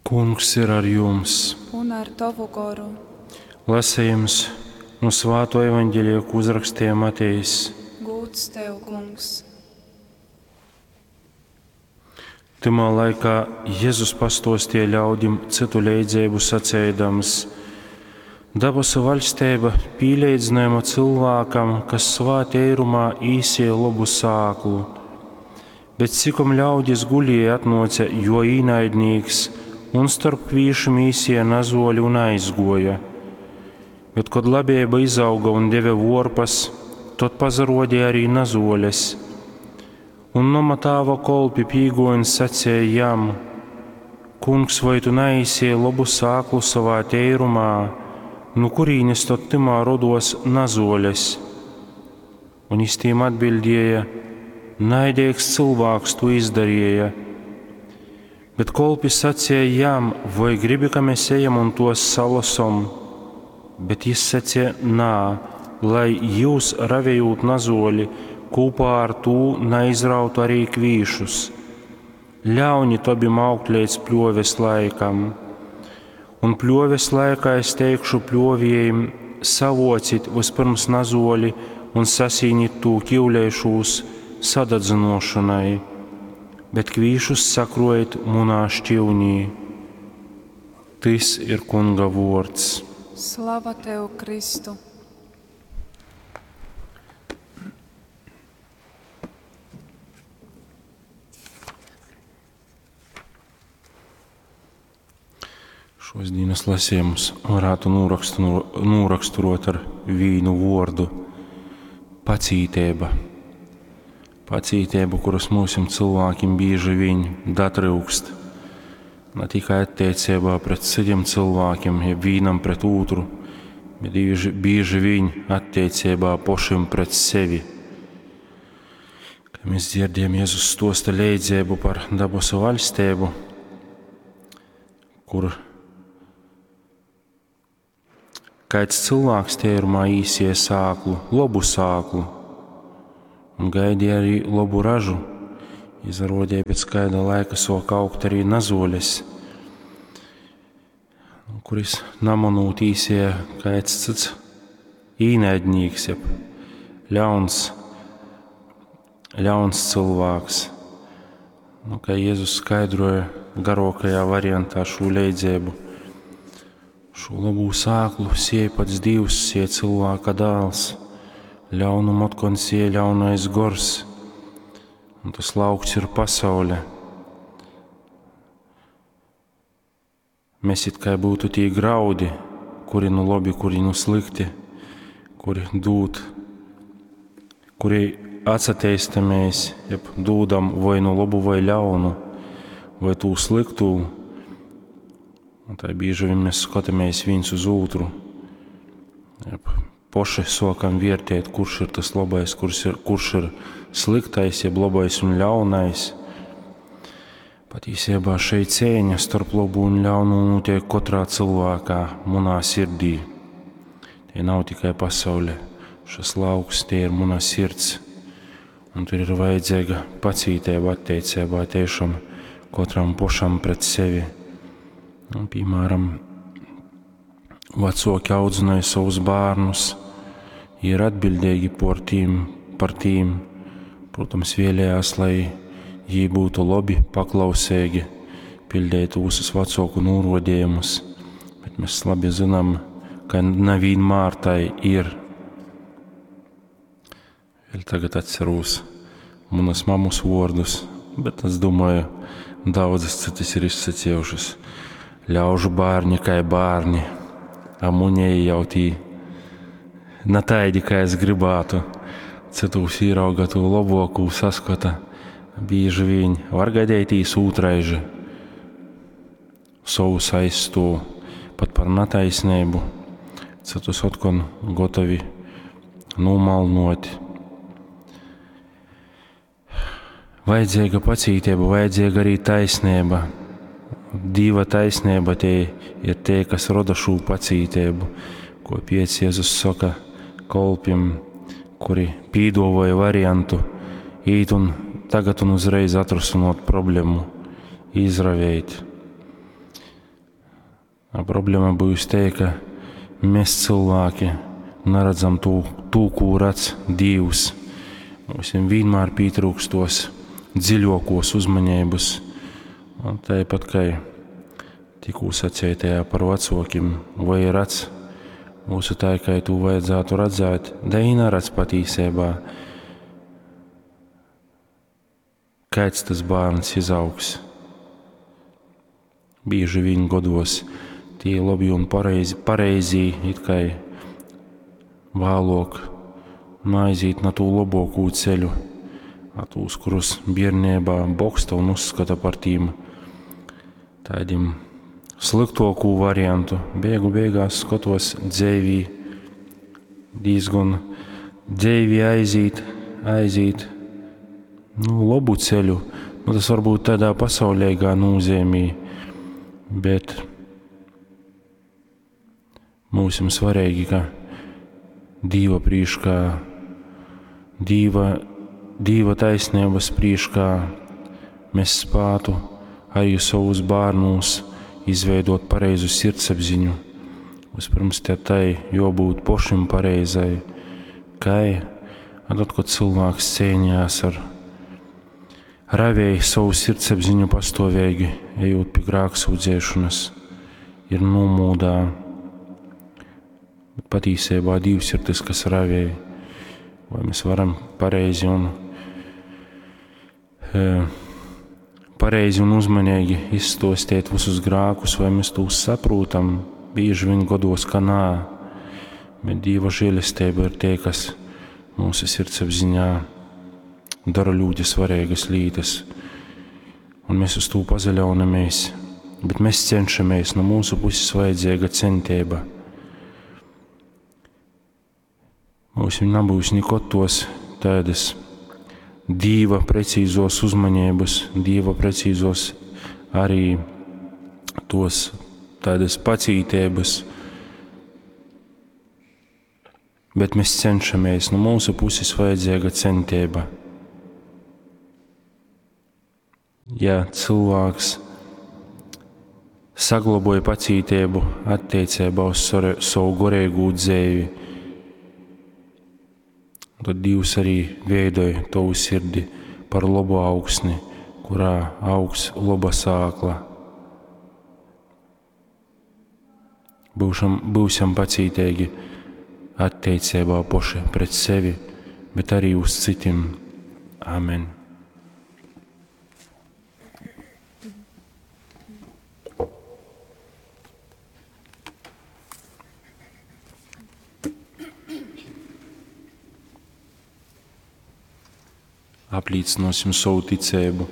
Kungs ir ar jums! Un ar tovu goru. Lasījums no Svāto evaņģēlija, ko uzrakstīja Matejs. Gūds tev, Kungs! Tymā laikā Jēzus pastostīja ļaudim citu leidzeibu saceidams: Dabasu vaļsteiba pīleidzinājuma cilvēkam, kas savā teirumā īsēja lobu sāklu. Bet cikom ļaudis gulēja, atnāca jo īnaidnīks un starp kvīšim īsēja nazoļi un aizgoja. Bet, kad labēba izauga un deva vorpas, tad pazarodīja arī nazoļes. Un noma tāva kolpi pīgoja un sacēja jam: Kungs, vai tu naīsēji lobu sāklu savā teirumā, nu kurīnes tad tymā rodos nazoļes? Un jis tīm atbildēja: Naidīgs cilvēks to izdarīja. Bet kolpi sacīja jam: Vai gribi, ka mēs ejam un tos salasom? Bet jis sacīja: Nā, lai jūs ravējot nazoļi, kopā ar tū neizrautu arī kvīšus. Ļauņi tobim augt līdz pļoves laikam. Un pļoves laikā es teikšu pļoviejiem: savocit vispirms nazoļi un sasīnit tū kiuleišūs sadadzinošanai, bet kvīšus sakrojiet munā šķivnī. Tys ir Kunga vuords. Slava tev, Kristu! Šos dienas lasījumus varētu noraksturot ar vīnu vuordu – pacītība. Pacītība, kuras mūsim cilvēkiem bieži vien datryukst. Ne tikai attiecībā pret citiem cilvēkiem, jeb vienam pret otru, bet bieži, bieži vien attiecībā pašiem pret sevi. Kad mēs dzirdējam Jēzus stosta leidzību par dabasu valstību, kur kāds cilvēks tērumā īsie sāklu, lobu sāklu, un gaidīja arī lobu ražu. Izrādīja pēc kāda laika soka augt arī nazoļes, kuris namanūt īsie kāds cits īnaidnīgs, jeb ļauns, ļauns cilvēks. Nu, kā Jēzus skaidroja garākajā variantā šo leidzību, šo labū sāklu sēja pats Dievs, sēja cilvēka dēls, ļaunumu atkon sēja ļaunais gors, un tas lauks ir pasaule. Mēs it kā būtu tie graudi, kuri nu labi, kuri nu slikti, kuri dūd, kuri atsateistamies, jeb dūdam vai nu labu vai ļaunu, vai tū sliktū. Un tā bieži vien mēs skatāmies viens uz otru, jeb poši sokam vērtēt, kurš ir tas labais, kurš ir, kurš ir sliktais, jeb labais un ļaunais. Patiesībā šeit cīņa starp labu un ļaunu notiek katrā cilvēkā, manā sirdī. Tie nav tikai pasaule, šis lauks, tie ir mana sirds. Un tur ir vajadzīga pacietība attiecībā tiešām katram pašam pret sevi. Un, piemēram, vecāki audzināja savus bērnus, ir atbildīgi par tīm, par tīm. Protams, vēlējās, lai jī būtu labi, paklausīgi, pildītu visus vecāku norodījumus, bet mēs labi zinām, ka nevienmēr tai ir. Vēl tagad atceros manas mammas vārdus, bet es domāju, daudzas citas ir izsacījušas. Ļaužu bērni kā bērni, a muņēji jau tī ne taidi, kā es gribētu. Citus ierauga to labāko saskata. Bieži vien var gadīties otraiži. Savus aizstāv pat par netaisnību, citus otkon gotovi nomalnot. Vajadzīga pacietība, vajadzīga arī taisnība. Dieva taisnība tie ir tie, kas roda šo pacietību, ko piec Jēzus saka kolpim, kuri pīdovoja variantu īt un tagad un uzreiz atrasinot problēmu, izravēt. A problema byus tei, ka mēs cilvēki naredzam tū, tū, kū redz Dīvs. Mums vienmēr pietrūks tos dziļākos uzmanības. Un tāpat kā tikko sacītajā par vecākiem, vai redz mūsu tā, kā to vajadzētu redzēt, da i neredz patīsībā. Kāds tas bērns izaugs? Bieži vien godos tie labi un pareizi, pareizī, it kā vēlāk naiziet na tū labāko ceļu, a tūs, kurus bērnībā boksta un uzskata par tīm tādiem sliktāko variantu. Beigu beigās skatos dzēvī diezgan dzēvī aiziet, aiziet nu, labu ceļu. Nu, tas varbūt tādā pasaulīgā nozīmī, bet mums ir svarīgi, ka Dīva prīškā, Dīva, Dīva taisnības prīškā mēs spētu arī savus bērnus izveidot pareizu sirdsapziņu. Vispirms te tai jābūt pošim pareizai, kai, a tad, kad cilvēks cīnījās ar ravēja savu sirdsapziņu pastāvīgi, ejot pie grēksūdzēšanas, ir nomūdā. Bet patīsībā Dievs ir tas, kas ravēja. Vai mēs varam pareizi un, e, pareizi un uzmanīgi izstostīt visus grēkus, vai mēs tos saprotam? Bieži vien godos, ka nā, bet Dieva žēlestība ir tie, kas mūsu sirdsapziņā dara ļoti svarīgas lietas. Un mēs uz to pazaļaunamies, bet mēs cenšamies, no mūsu puses vajadzīga centība. Mums nebūs nekad tos tādas Dīva precīzos uzmanības, Dīva precīzos arī tos tādas pacītības, bet mēs cenšamies, no mūsu puses vajadzīga centība. Ja cilvēks saglaboja pacietību attiecībā uz savu garīgo dzīvi, tad Dievs arī veidoja tavu sirdi par labu augsni, kurā augs laba sākla. Būšam, būsim pacietīgi attiecībā paši pret sevi, bet arī uz citiem. Amen. Apliecināsim savu ticību.